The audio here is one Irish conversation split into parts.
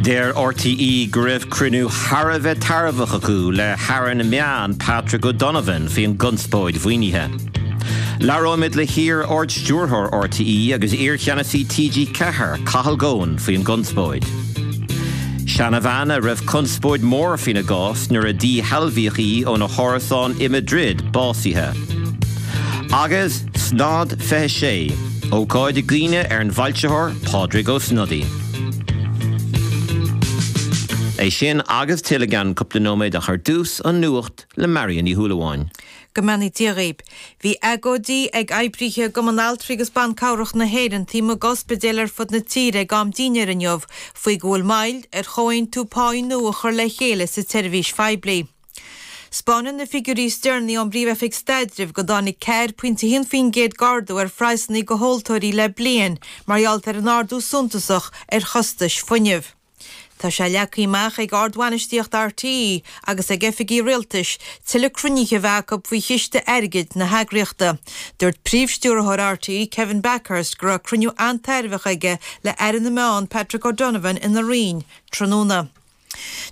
Deir RTÉ go raibh cruinniú thar a bheith tairbheach acu le hAire na Meán Patrick O'Donovan faoin gconspóid mhaoinithe. Labhróimid le hiar-Ard-Stiúrthóir RTÉ agus iarcheannasaí TG4, Cathal Goan faoin gconspóid. Seanabhean a raibh conspóid mhór faoina gcás nuair a díshealbhaíodh í óna hárasán i Madrid básaithe. Agus Snod 26, ócáid i gcuimhne ar an bhfoilsitheoir Pádraig Ó Snodaigh. É sin agus tuilleadh i gceann cúpla nóiméad ach ar dtús, an nuacht le Marion Ní Shúilleabháin. Go mbeannaí Dia dhaoib. Bhí agóidí ag oibrithe i gCumann Altraí agus Ban Cabhrach na hÉireann taobh amuigh d'ospidéil ar fud na tíre ag am dinnéir inniu faoi go bhfuil moill ar chomhaontú páí nua a chur le chéile sa tseirbhís phoiblí. 'Spáineann na figiúirí is deireanaí ón bPríomh-Oifig Staidrimh go dtáinig 4.1% d'ardú ar phraghsanna go thomhaltóirí le bliain mar gheall ar an ardú suntasach ar chostais fuinnimh. Tá sé leagtha amach ag ardbhainistíocht RTÉ agus ag oifigí rialtais tuilleadh cruinnithe a bheith acu faoi chiste airgid na heagraíochta. Dúirt Príomh-Stiúrthóir RTÉ Kevin Bakhurst go raibh cruinniú an-tairbheach aige le Aire na Meán Patrick O'Donovan ina Roinn tráthnóna.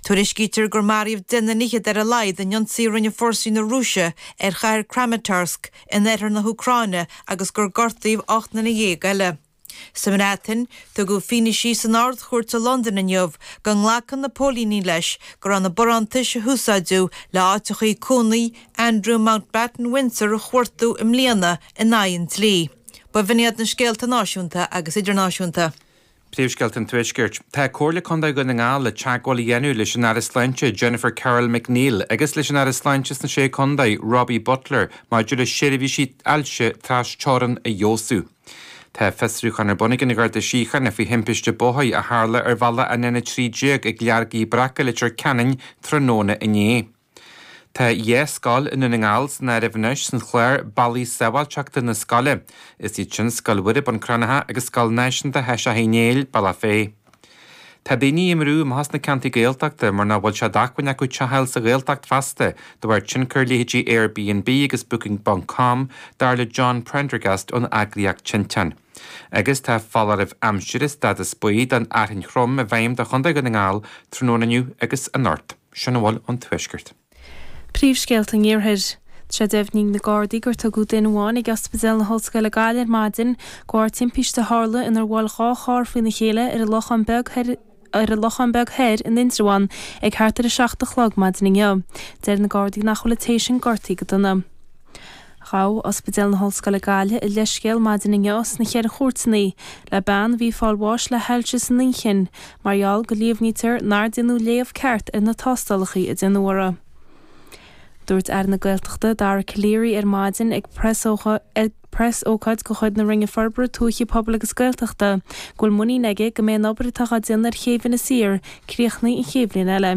Tuairiscítear gur maraíodh deich nduine fhichead ar a laghad in ionsaí a rinne fórsaí na Rúise ar chathair Kramatorsk in oirthear na hÚcráine agus gur gortaíodh 18 nduine eile. Sa mBreatain, tugadh fianaise san Ard-Chúirt i Londain inniu go nglacann na póilíní leis go raibh na barántais a húsáideadh le áiteachaí cónaí Andrew Mountbatten Windsor a chuartú i mbliana in aghaidh an dlí. B'in iad na scéalta náisiúnta agus idirnáisiúnta. Príomhscéalta an Tuaiscirt. Tá Comhairle Contae Dhún na nGall le teagmháil a dhéanamh leis an Aire Sláinte Jennifer Carroll MacNeill agus leis an Aire Sláinte sna Sé Contae, Robbie Butler, maidir le seirbhísí ailse tras-teorann a fheabhsú. Tá fiosrúchán ar bun ag an Gharda Síochána faoi thimpiste bóthair a tharla ar bhealach an N13 ag Leargaí Breaca, Leitir Ceanainn, tráthnóna inné. Tá dhá scoil i nDún na nGall san áireamh anois san chlár Bealaí Sábháilteachta na Scoile. Is iad sin Scoil Mhuire, Bun Cranncha agus Scoil Náisiúnta Thaoiseach Uí Néill, Bealach Féich. Tá daoine i mbrú amach as na ceantair Gaeltachta mar nach bhfuil sé d'acmhainn acu teach a fháil sa Ghaeltacht feasta de bharr tionchar leithéidí Airbnb agus Booking ponc com, dar le John Prendergast ón eagraíocht Tinteán. Agus tá foláireamh aimsire stádas buí don fhearthainn throm i bhfeidhm do Chontae Dhún na nGall tráthnóna inniu agus anocht. Sin a bhfuil ón Tuaisceart. Príomhscéalta an Iarthair. Tá sé deimhnithe ag na Gardaí gur tugadh duine amháin ag Ospidéal na hOllscoile Gaillimh ar maidin de bharr timpiste a tharla inar bhuail 2 charr faoina chéile ar an Lochán Beag Thoir ar an Lochán Beag Thoir in Indreabhán ag thart ar a 7 a chlog maidin inniu. Deir na Gardaí nach bhfuil an té sin gortaithe go dona. Ghabh Ospidéal na hOllscoile Gaillimh a leithscéal maidin inniu sna Ceithre Chúirteanna le bean a bhí ag fáil bháis le hailse san inchinn mar gheall go líomhnaítear nár déanadh léamh ceart ar na tástálacha a déanadh uirthi. Dúirt Aire na Gaeltachta Dara Calleary ar maidin ag preasócáid de chuid na Roinne Forbartha Tuaithe, Pobail agus Gaeltachta go bhfuil muinín aige go mbeidh an obair atá á déanamh ar chéibh Inis Oírr críochnaithe an chéad bhliain eile.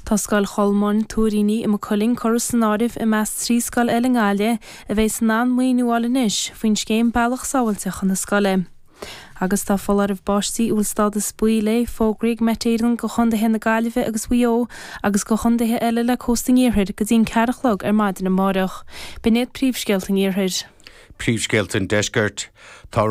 Tá Scoil Cholmáin, Tuairíní i Maigh Cuilinn curtha san áireamh i measc 3 scoil eile i nGaillimh a bheas in ann maoiniú a fháil anois faoin scéim Bealach Sábháilte chun na Scoile. Agus tá foláireamh báistí a bhfuil stádas buí léi fógraithe ag Met Éireann do chontaetha na Gaillimhe agus Mhaigh Eo agus do chontaetha eile le cósta an iarthair go dtí an ceathair a chlog ar maidin amáireach. B'in iad príomhscéalta an iarthair. Príomhscéalta an Deiscirt. Tá.